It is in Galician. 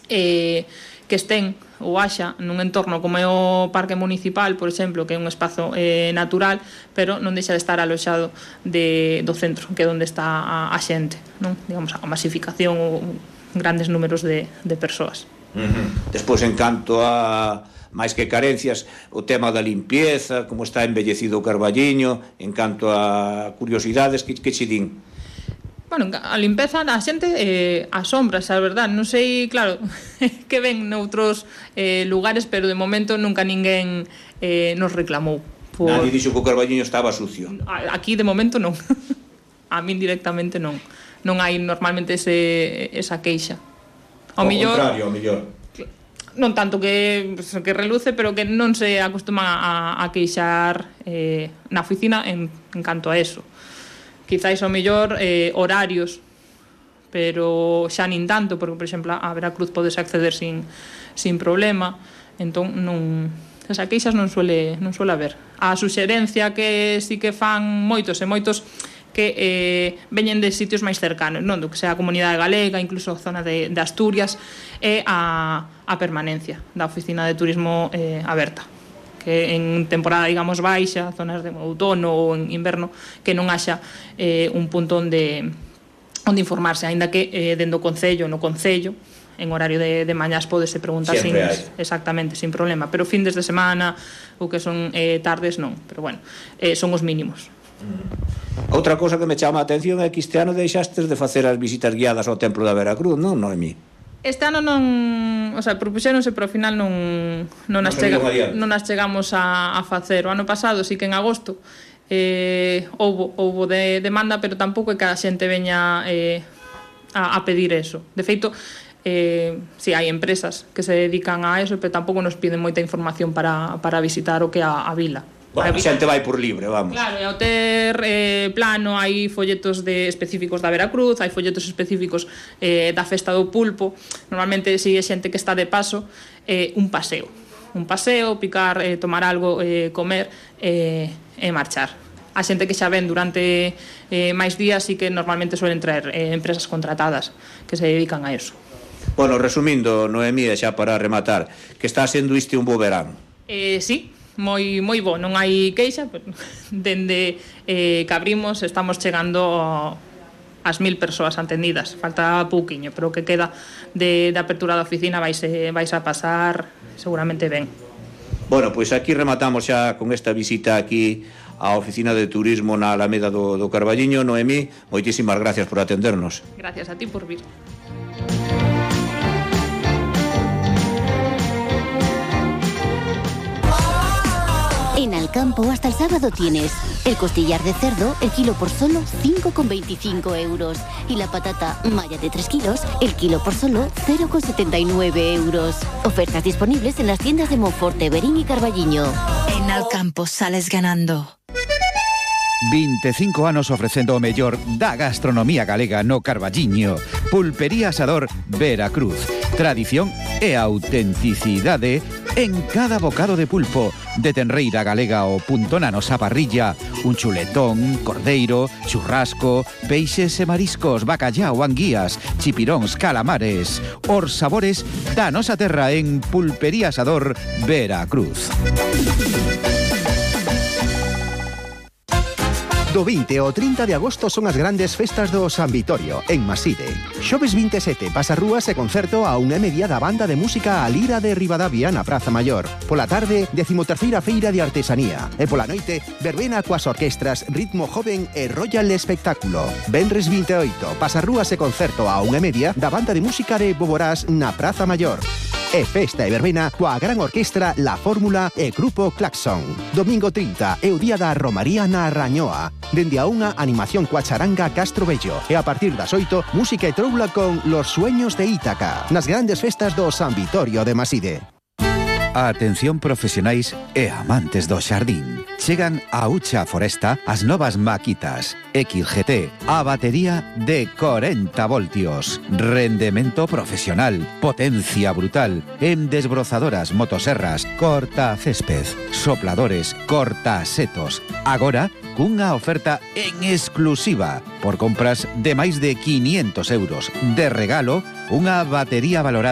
que estén ou haxa nun entorno como é o Parque Municipal, por exemplo, que é un espazo natural, pero non deixa de estar aloxado do centro, que é onde está a xente, non? Digamos, a masificación ou grandes números de persoas. Despois, en canto a máis que carencias, o tema da limpieza, como está embellecido o Carballiño, en canto a curiosidades, que che din? Bueno, a limpeza a xente asombras, a verdad, non sei, claro, que ven noutros lugares, pero de momento nunca ninguén nos reclamou. Nadie dixo que o Carballiño estaba sucio. Aquí de momento non. A min directamente non. Non hai normalmente esa queixa. Ao contrario, ao mellor. Non tanto que reluce, pero que non se acostuman a queixar na oficina en canto a eso. Quizáis ao mellor horarios, pero xa nin tanto, porque, por exemplo, a Veracruz podes acceder sin problema, entón non... Esa queixas non suele haber. A suxerencia que sí que fan moitos e moitos que veñen de sitios máis cercanos, non? Do que sea a Comunidade Galega, incluso a zona de Asturias, e a permanencia da Oficina de Turismo aberta, que en temporada, digamos, baixa, zonas de outono ou en inverno, que non haxa un punto onde informarse, aínda que dentro do Concello, no Concello, en horario de mañás podese preguntar exactamente, sin problema, pero findes de semana ou que son tardes non, pero bueno, son os mínimos. Outra cousa que me chama a atención é que este ano deixastes de facer as visitas guiadas ao Templo da Veracruz, non, Noemí? Este ano non, o sea, propuxéronse, pero ao final non as chegamos a facer. O ano pasado sí que en agosto houbo de demanda, pero tampouco é que a xente veña a pedir eso. De feito, si hai empresas que se dedican a eso, pero tampouco nos piden moita información para visitar o que é a vila. Bueno, a xente vai por libre, vamos. Claro, e ao ter plano hai folletos específicos da Veracruz, hai folletos específicos da Festa do Pulpo. Normalmente sigue xente que está de paso, un paseo, picar, tomar algo, comer e marchar. A xente que xa ven durante máis días sí que normalmente suelen traer empresas contratadas que se dedican a eso. Bueno, resumindo, Noemí, xa para rematar, que está sendo isto un bo verán. Sí, moi bo, non hai queixa, pero dende que abrimos estamos chegando ás 1000 persoas atendidas, falta pouquiño, pero o que queda de apertura da oficina vais a pasar seguramente ben. Bueno, pois aquí rematamos xa con esta visita aquí á Oficina de Turismo na Alameda do Carballiño. Noemí, moitísimas gracias por atendernos. Gracias a ti por vir. En Alcampo hasta el sábado tienes el costillar de cerdo, el kilo por solo 5,25 euros. Y la patata malla de 3 kilos, el kilo por solo 0,79 euros. Ofertas disponibles en las tiendas de Monforte, Verín y Carballiño. En Alcampo sales ganando. 25 anos ofrecendo o mellor da gastronomía galega no Carballiño. Pulpería Asador Veracruz. Tradición e autenticidade en cada bocado de pulpo. De tenreira galega o punto na nosa parrilla. Un chuletón, cordeiro, churrasco, peixes e mariscos, bacallao, anguías, chipiróns, calamares. Os sabores da nosa terra en Pulpería Asador Veracruz. Do 20 ao 30 de agosto son as grandes festas do San Vitorio, en Maside. Xoves 27, pasarrúas e concerto a 1:30 da banda de música A Lira de Ribadavia na Praza Maior. Pola tarde, 13ª Feira de Artesanía. E pola noite, verbena coas orquestras Ritmo Joven e Royal Espectáculo. Venres 28, pasarrúas e concerto a 1:30 da banda de música de Boborás na Praza Maior. E festa e verbena coa gran orquestra La Fórmula e Grupo Claxon. Domingo 30 é o día da Romaría na Rañoa. Dende a unha animación coa charanga Castro Bello. E a partir das 8, música e troula con Los Sueños de Ítaca. Nas grandes festas do San Vitorio de Maside. Atención profesionais e amantes do xardín. Chegan a Ucha Foresta as novas maquitas XGT, a batería de 40 voltios, rendemento profesional, potencia brutal, en desbrozadoras, motoserras, corta césped, sopladores, corta setos. Agora, cunha oferta en exclusiva, por compras de máis de 500 euros. De regalo, unha batería valorada